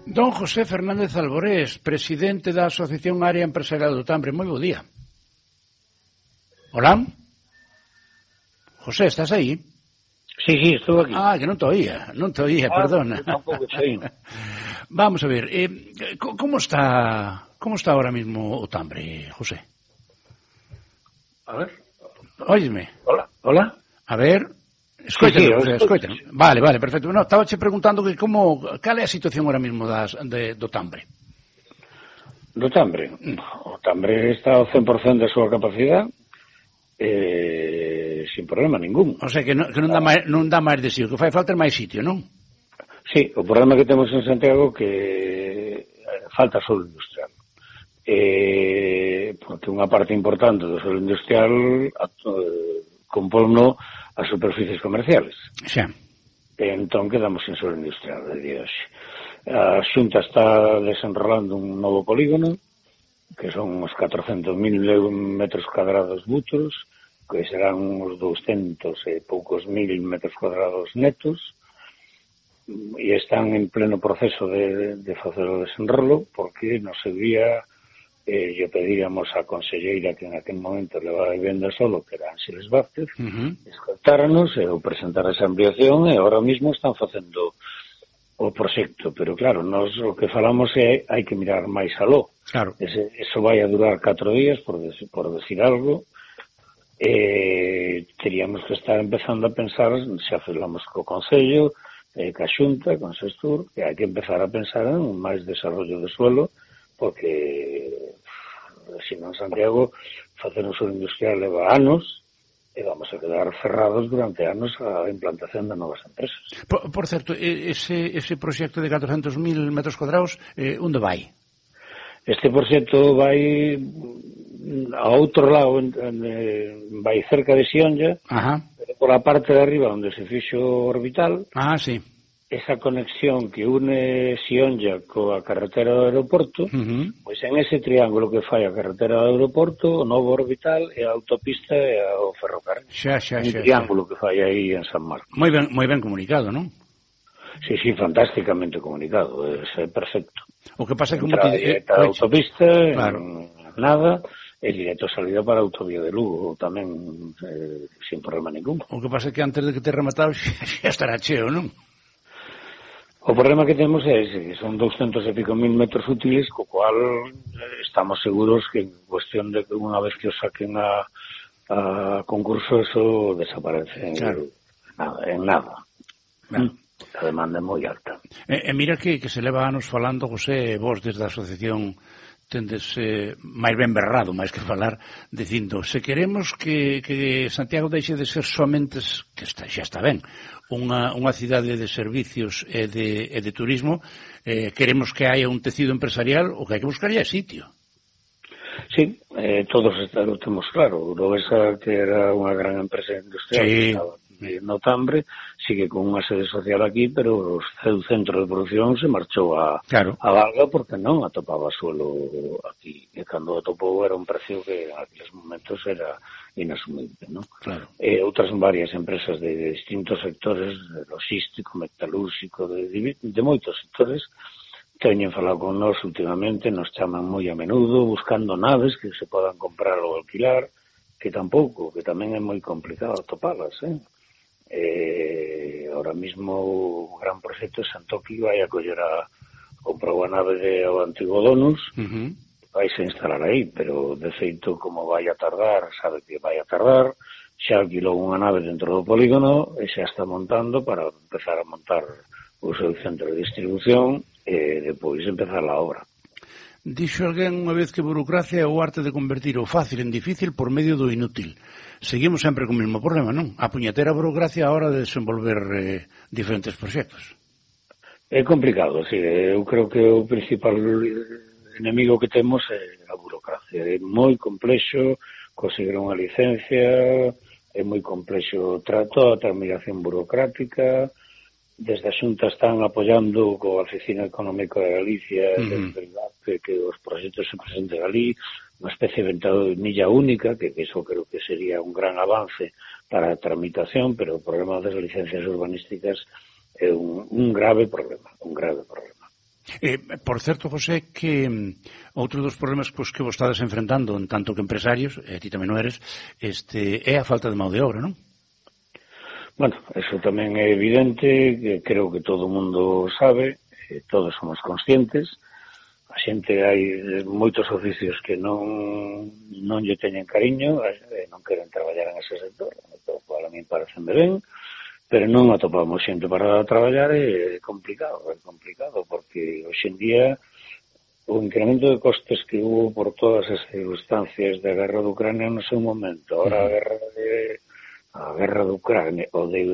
Don José Fernández Alborés, presidente da Asociación Área Empresarial do Tambre. Moi bo día. Hola? José, estás aí? Sí, estou aquí. Que non te oía, perdona. Tampouco sei. Vamos a ver, como está ahora mismo o Tambre, José? A ver. Óyeme. Hola. A ver, escoítame, sí, José, escoítame. Vale, perfecto. No, estaba che preguntando que cal é a situación ahora mismo do Tambre? Do Tambre? O Tambre está ao 100% da súa capacidade, sin problema ningún. O sea, que non dá máis de sí, o que fai falta é máis sitio, non? Sí, o problema que temos en Santiago que falta solo industrial. Porque unha parte importante do solo industrial componno as superficies comerciales. Xa. Entón quedamos sin solo industrial de día hoxe. A Xunta está desenrolando un novo polígono que son uns 400.000 metros cuadrados butros, que serán uns 200 e poucos mil metros cuadrados netos, e están en pleno proceso de facer o desenrolo, porque no seu día lle pedíamos a conselleira que en aquel momento levaba vivenda solo, que era Ángeles Vázquez, escoltáranos e presentar esa ampliación, e ahora mismo están facendo o proxecto, pero claro, nós o que falamos é hai que mirar máis aló. Claro. Eso vai a durar 4 días, por decir algo, teríamos que estar empezando a pensar, se falamos co Concello, ca Xunta, con Sestur, que hai que empezar a pensar en máis desarrollo de suelo, porque se non Santiago facer un suelo industrial leva anos, e vamos a quedar cerrados durante anos a implantación de novas empresas. Por certo, ese proxecto de 400.000 metros cuadrados, onde vai? Este proxecto vai a outro lado, vai cerca de Xionlla, pero por a parte de arriba onde se fixo o orbital. Sí. Esa conexión que une Xionlla coa carretera do aeroporto, pois en ese triángulo que fai a carretera do aeroporto, o novo orbital e a autopista e o ferrocarril. Un triángulo que fai aí en San Marcos. Moi ben comunicado, non? Sí, fantasticamente comunicado, é perfecto. O que pasa é que a autopista, claro. Nada, e directo salida para a autovía de Lugo, tamén sin problema ningún. O que pasa é que antes de que te rematado xa estará cheo, non? O problema que temos é ese, que son 200 e pico mil metros útiles, co cual estamos seguros que en cuestión de que unha vez que o saquen a concurso eso desaparece en nada. A demanda é moi alta. Mira que se leva anos falando, José, vos desde a asociación tendes máis ben berrado, máis que falar, dicindo, se queremos que Santiago deixe de ser somente, que xa está ben, unha cidade de servicios e de turismo, queremos que haya un tecido empresarial, o que hai que buscar é sitio. Sí, todos lo temos claro. Urovesa, que era unha gran empresa industrial, que estaba no Tambre, sigue con unha sede social aquí, pero o seu centro de producción se marchou a Valga porque non atopaba suelo aquí. E cando atopou era un precio que en aqueles momentos era inasumible, non? Claro. Outras varias empresas de distintos sectores, de logístico, metalúrxico, de moitos sectores, teñen falado con nós últimamente, nos chaman moi a menudo, buscando naves que se podan comprar ou alquilar, que tampouco, que tamén é moi complicado atopalas, ahora mismo o gran proxecto de Santoqui vai a coller comprar unha nave ao antigo Donus, vai se instalar aí, pero de feito como vai a tardar, sabe que vai a tardar, xa alquilou unha nave dentro do polígono e xa está montando para empezar a montar o seu centro de distribución e depois empezar a obra. Dixo alguén unha vez que burocracia é o arte de convertir o fácil en difícil por medio do inútil. Seguimos sempre co mesmo problema, non? A puñetera burocracia a hora de desenvolver diferentes proxectos. É complicado, sí. Eu creo que o principal enemigo que temos é a burocracia. É moi complexo conseguir unha licencia, é moi complexo toda a tramitación burocrática. Desde a Xunta están apoiando coa Oficina Económica de Galicia que os proxectos se presenten ali, unha especie de ventanilla única, que iso creo que sería un gran avance para a tramitación, pero o problema das licencias urbanísticas é un grave problema, Por certo, José, que outro dos problemas que vos estades enfrentando en tanto que empresarios, e ti tamén o eres, é a falta de mão de obra, non? Bueno, eso tamén é evidente, que creo que todo o mundo sabe, todos somos conscientes. A xente, hai moitos oficios que non lle teñen cariño, non queren traballar en ese sector, a mí parecen ben, pero non atopamos xente para traballar, é complicado, porque hoxe en día o incremento de costes que hubo por todas as circunstancias da guerra de Ucrania no seu momento, ahora a guerra de Ucrania ou de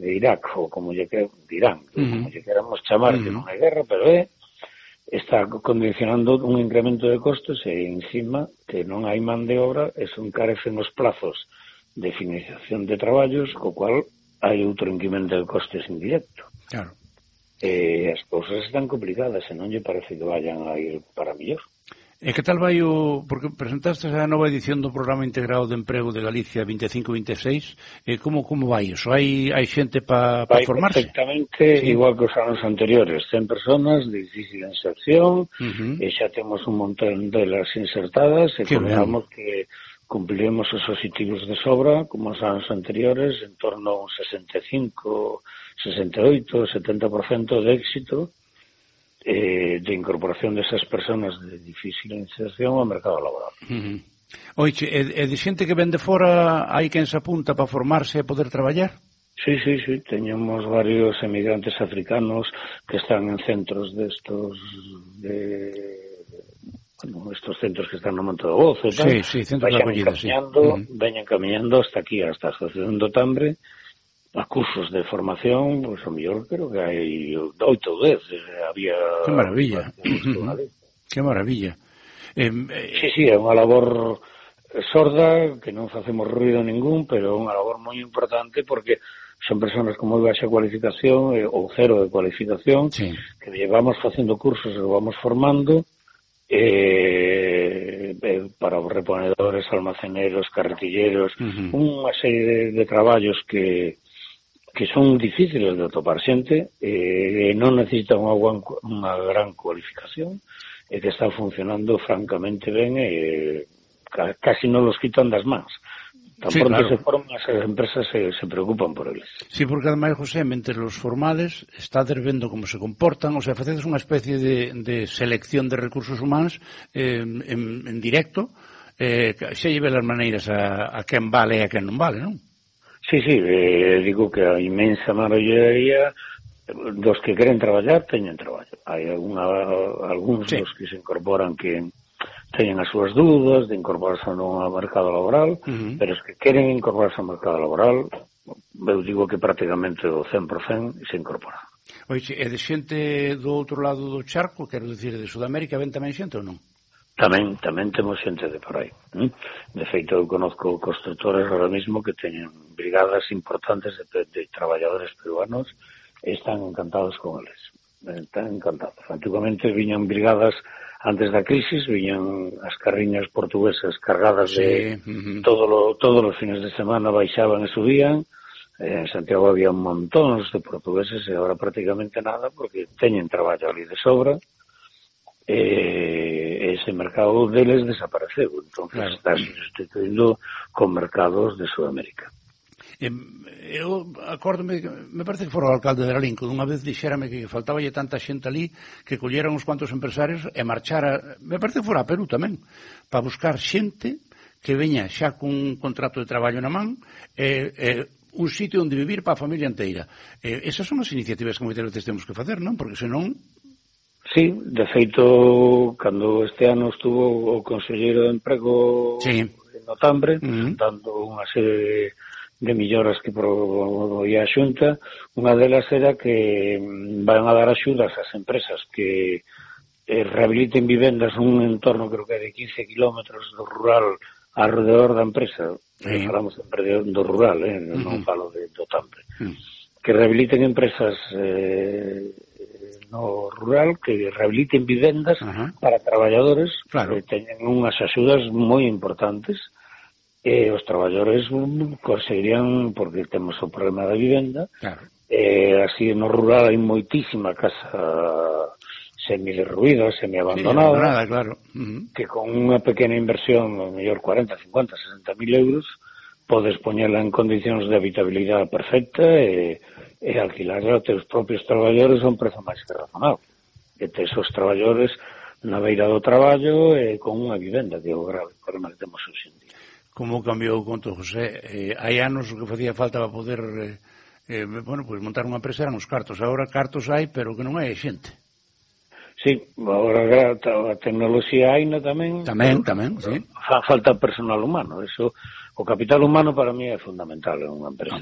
Irak, ou como lle queramos chamar, que non hai guerra, pero está condicionando un incremento de costes e encima que non hai man de obra, eso encarecen os plazos de finalización de traballos, co cual hai outro incremento de costes indirecto. Claro. As cousas están complicadas e non lle parece que vayan a ir para mellor. E que tal vai porque presentaste a nova edición do Programa Integrado de Emprego de Galicia 25-26, como vai iso? Hai xente para formarse? Perfectamente, sí. Igual que os anos anteriores, 100 personas de difícil inserción, e xa temos un montón delas insertadas, e contamos que cumpriremos os objetivos de sobra, como os anos anteriores, en torno a un 65, 68, 70% de éxito de incorporación desas persoas de difícil inserción ao mercado laboral. Oiche, e de xente que ven de fora, hai quen se apunta para formarse e poder traballar? Sí, teñemos varios emigrantes africanos que están en centros destos estos centros que están no Monte do Gozo e tal, centros de acollida, veñen camiñando hasta aquí, hasta a Asociación do Tambre, a cursos de formación, pois o mellor creo que hai 8 ou 10, había... Que maravilla, que maravilla. Sí, é unha labor sorda, que non facemos ruido ningún, pero é unha labor moi importante porque son persoas con moi baixa cualificación ou cero de cualificación, que llevamos facendo cursos e vamos formando, para os reponedores, almaceneros, carretilleros, unha serie de traballos que son difíciles de atopar xente, non necesitan unha gran cualificación, e que está funcionando francamente ben, e casi non los quitan das mans. Tan pronto se forman, as empresas se preocupan por eles. Sí, porque ademais, José, mentre los formales estades vendo como se comportan, o sea, facedes unha especie de selección de recursos humanos en directo, xa lleve as maneiras a quen vale e a quen non vale, non? Sí, digo que a inmensa maioría dos que queren traballar teñen traballo. Hai algúns dos que se incorporan que teñen as súas dúdas de incorporarse ou non ao mercado laboral, pero os que queren incorporarse ao mercado laboral, eu digo que prácticamente o 100% se incorpora. Oixe, e de xente do outro lado do charco, quero dicir, de Sudamérica, ven tamén xente ou non? Tamén temos xente de por aí. De feito, eu conozco constructores ahora mismo que teñen brigadas importantes de traballadores peruanos e están encantados con eles. Están encantados. Antiguamente viñan brigadas. Antes da crisis viñan as carriñas portuguesas cargadas de todos os fines de semana, baixaban e subían. En Santiago había un montón de portugueses e agora prácticamente nada porque teñen traballo ali de sobra. Ese mercado deles desapareceu, entonces está sustituindo con mercados de Sudamérica. Eu acórdome, me parece que fora o alcalde de Lalín, que unha vez dixérame que faltaballe tanta xente ali que colleran uns cuantos empresarios e marchara, me parece que fora a Perú tamén, para buscar xente que veña xa cun contrato de traballo na man un sitio onde vivir para a familia inteira. Esas son as iniciativas que moitas veces temos que facer, non? Porque senón... Sí, de feito, cando este ano estuvo o conselleiro de Emprego no Tambre, dando unha serie de melloras que promovía a Xunta, unha delas era que van a dar axudas ás empresas que rehabiliten vivendas nun entorno, creo que é de 15 kilómetros do rural alrededor da empresa. Falamos sempre do rural, non falo do Tambre. Que rehabiliten empresas no rural, que rehabiliten vivendas para traballadores que teñen unhas axudas moi importantes. Os traballadores conseguirían, porque temos o problema da vivenda, así no rural hai moitísima casa semi-derruída, semi-abandonada, claro. Que con unha pequena inversión, a mellor 40, 50, 60 mil euros, podes poñela en condicións de habitabilidade perfecta e alquilarla a teus propios traballadores a un prezo máis que razonable. E tes os traballadores na beira do traballo e con unha vivenda, que é o grave problema que temos hoxe en día. Como cambiou o conto, José? Hai anos o que facía falta para poder pues montar unha empresa eran os cartos. Agora cartos hai, pero que non hai xente. Sí, agora a tecnoloxía haina tamén. Tamén, sí. Falta personal humano. Eso, o capital humano para mí é fundamental en unha empresa.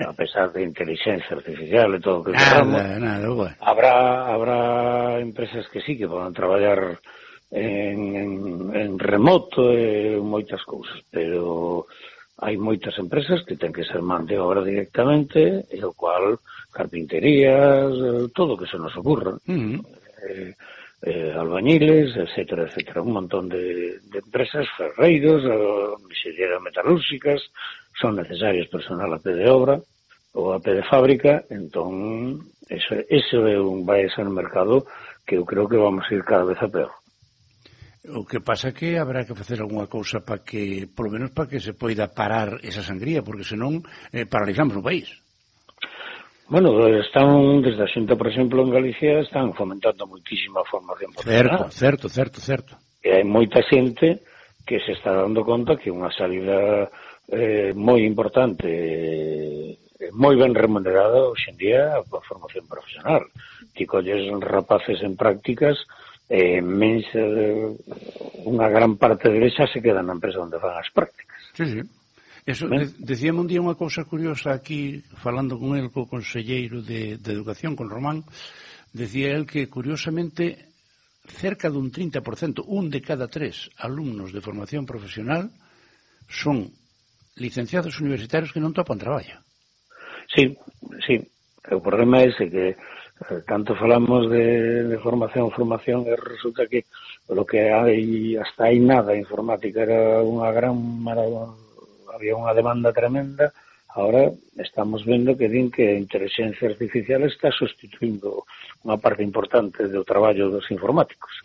A pesar de inteligencia artificial e todo o que queramos. Bueno. Habrá empresas que sí, que poden traballar en remoto e moitas cousas, pero hai moitas empresas que ten que ser man de obra directamente, e o cual carpinterías, todo o que se nos ocurra, albañiles, etcétera, un montón de empresas, ferreiros, mixerías metalúrxicas, son necesarios personal a pé de obra ou a pé de fábrica. Entón, ese vai a ser un mercado que eu creo que vamos a ir cada vez a peor. O que pasa é que habrá que facer algunha cousa para que, polo menos para que se poida parar esa sangría, porque senón paralizamos o país. Bueno, están, desde a Xunta, por exemplo, en Galicia, están fomentando moitísima formación profesional. Certo. E hai moita xente que se está dando conta que unha salida moi importante, moi ben remunerada hoxe en día a formación profesional. Ti colles rapaces en prácticas, unha gran parte de xa se queda na empresa onde fan as prácticas. Sí. Eso, decíame un día unha cousa curiosa aquí, falando con el, co conselleiro de Educación, con Román, decía el que, curiosamente, cerca dun 30%, un de cada 3 alumnos de formación profesional son licenciados universitarios que non topan traballo. Sí. O problema é ese, que tanto falamos de formación, e resulta que lo que hai, hasta hai nada, informática era unha gran maravilla, había unha demanda tremenda. Ahora estamos vendo que din que a inteligencia artificial está sustituindo unha parte importante do traballo dos informáticos.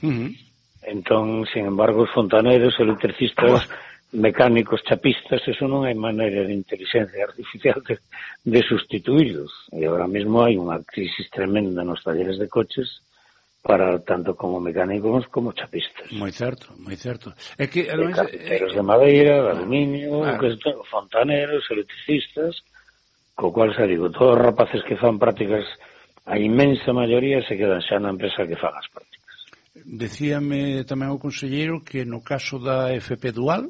Entón, sin embargo, os fontaneiros, electricistas, mecánicos, chapistas, eso non hai maneira de inteligencia artificial de sustituílos. E agora mesmo hai unha crisis tremenda nos talleres de coches para tanto como mecánicos como chapistas. Moi certo. É que, ademais, carpinteros de madeira, de aluminio, fontaneros, electricistas, co cual se digo, todos os rapaces que fan prácticas, a inmensa maioría se quedan xa na empresa que fan as prácticas. Decíame tamén o conselleiro que no caso da FP Dual,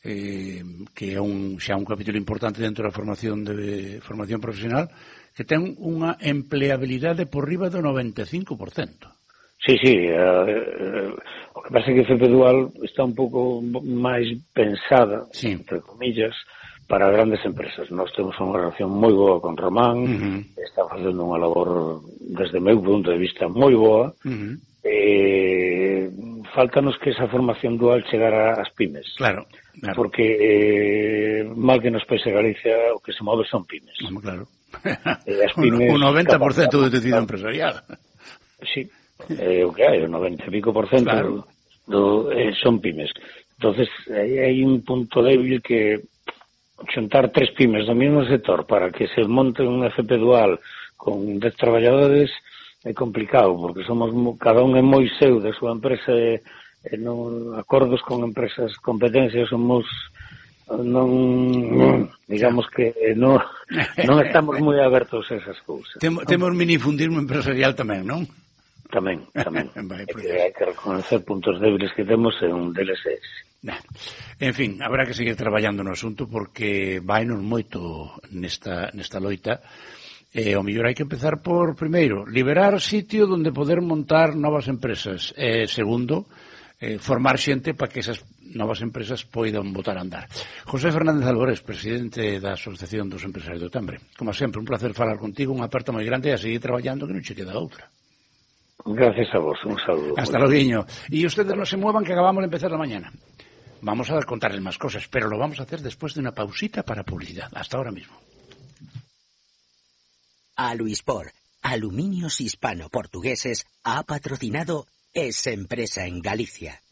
que é xa un capítulo importante dentro da formación profesional, que ten unha empleabilidade por riba do 95%. Sí, o que pasa é que FP Dual está un pouco máis pensada, entre comillas, para grandes empresas. Nós temos unha relación moi boa con Román, está facendo unha labor, desde o meu punto de vista, moi boa. Faltanos que esa formación dual chegara ás pymes. Claro. Porque mal que nos pese Galicia, o que se move son pymes. Claro. Pymes, un 90% do tecido empresarial. Sí, o que hai, o 90 e pico por cento son pymes. Entonces, hai un punto débil que xuntar 3 pymes do mesmo sector para que se monte un FP Dual con 10 traballadores é complicado, porque cada un é moi seu da súa empresa e non acordos con empresas competencias somos digamos que non estamos moi abertos a esas cousas. Temos minifundismo empresarial tamén, non? Tamén. Hai que reconocer puntos débiles que temos e un deles é ese. En fin, habrá que seguir traballando no asunto porque vainos moito nesta loita. O mellor hai que empezar por, primeiro, liberar sitio onde poder montar novas empresas. Segundo, formar xente para que esas novas empresas poidan botar a andar. José Fernández Álvarez, presidente da Asociación dos Empresarios do Tambre. Como sempre, un placer falar contigo, unha aperta moi grande e a seguir traballando que non che queda outra. Gracias a vos, un saludo. Hasta loguiño. Y ustedes no se muevan que acabamos de empezar la mañana. Vamos a contarles más cosas, pero lo vamos a hacer después de una pausita para publicidad. Hasta ahora mismo. Aluispor, Aluminios Hispano-Portugueses ha patrocinado esa empresa en Galicia.